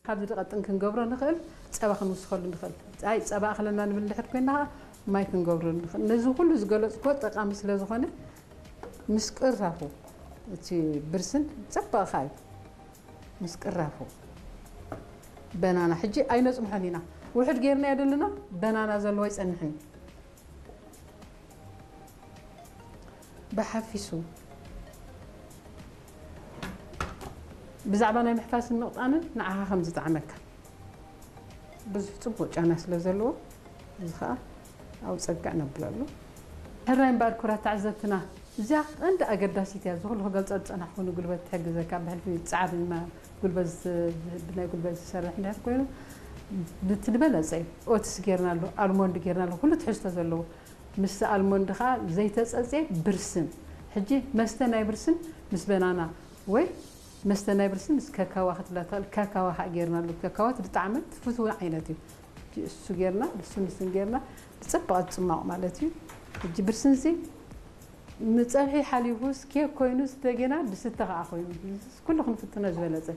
ካብዚ ዝቐጥን ክንገብሮ ንኽእል፣ ጸባ ክንውስኸሉ ንኽእል። ኣይ ጸባ ኣኽለና ንብል እንድሕር ኮይና ኸዓ ማይ ክንገብረሉ ንኽእል። ነዚ ኩሉ ዝገለጽኩዎ ጠቓሚ ስለ ዝኾነ ምስ ቅራፉ እቲ ብርስን ጸባቕኻ እዩ። ምስ ቅራፉ በናና ሕጂ ኣይነጽንሖን ኢና። ውሑድ ጌርናዮ ዘለና በናና ዘለዎ ኣይጸንሕን እዩ። ብሓፊሱ ብዛዕባ ናይ ምሕፋስን ምቕጣንን ንዓኻ ከም ዝጠዓመካ ብዙሕ ጽቡቕ ጫና ስለ ዘለዎ፣ እዚ ኸኣ ኣብ ጸግዕ ነብለሉ። ሕራይ እምበኣር ክቡራት ተዓዘብትና፣ እዚኣ ቀንዲ ኣገዳሲት እያ። እዚ ኩሉ ክገልጾ ዝጸናሕኩ ንጉልበት ትሕግዘካ፣ ብሕልፊ ጻዕሪ እና ጉልበት ዝ-፣ ብናይ ጉልበት ዝሰርሕ እንድሕር ኮይኑ፣ ብቲ ዝበለጸ እዩ። ኦትስ ጌርናሉ፣ ኣልሞንድ ጌርናሉ፣ ኩሉ ትሕዝቶ ዘለዎ። ምስ ኣልሞንድ ኸኣ ዘይተጸጽየ ብርስን። ሕጂ መስተ ናይ ብርስን ምስ በናና ወይ መስተ ናይ ብርስን ምስ ከካዋ ክትብላ ትኽእል። ከካዋ ኸኣ ጌርናሉ። ከካዋ እቲ ብጣዕሚ ትፍትው ዓይነት እዩ። ሕጂ እሱ ጌርና፣ ብስን ብስን ጌርና ብጽቡቕ ዝጽማቕ ማለት እዩ። ሕጂ ብርስንሲ ንጸብሒ ሓሊፉስ ኬክ ኮይኑስ እንደገና ዝስተ ኸኣ ኮይኑ። ኩሉ ክንፍትኖ ዝበለጸ።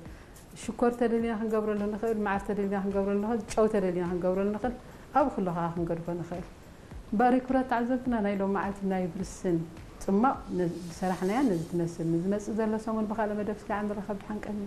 ሽኮር ተደሊና ክንገብረሉ ንኽእል፣ መዓር ተደሊና ክንገብረሉ ንኽእል፣ ጨው ተደሊና ክንገብረሉ ንኽእል። ኣብ ኩሉ ኸኣ ክንገድፎ ንኽእል። እምበኣር ክቡራት ተዓዘብትና ናይ ሎም መዓልቲ ናይ ብርስን ጽማቕ ነ-፣ ዝሰራሕናያ ነዚ ትመስል። ንዝመጽእ ዘሎ ሰሙን ብኻልእ መደብ እስከ ንራኸብ። ደሓን ቀኒ።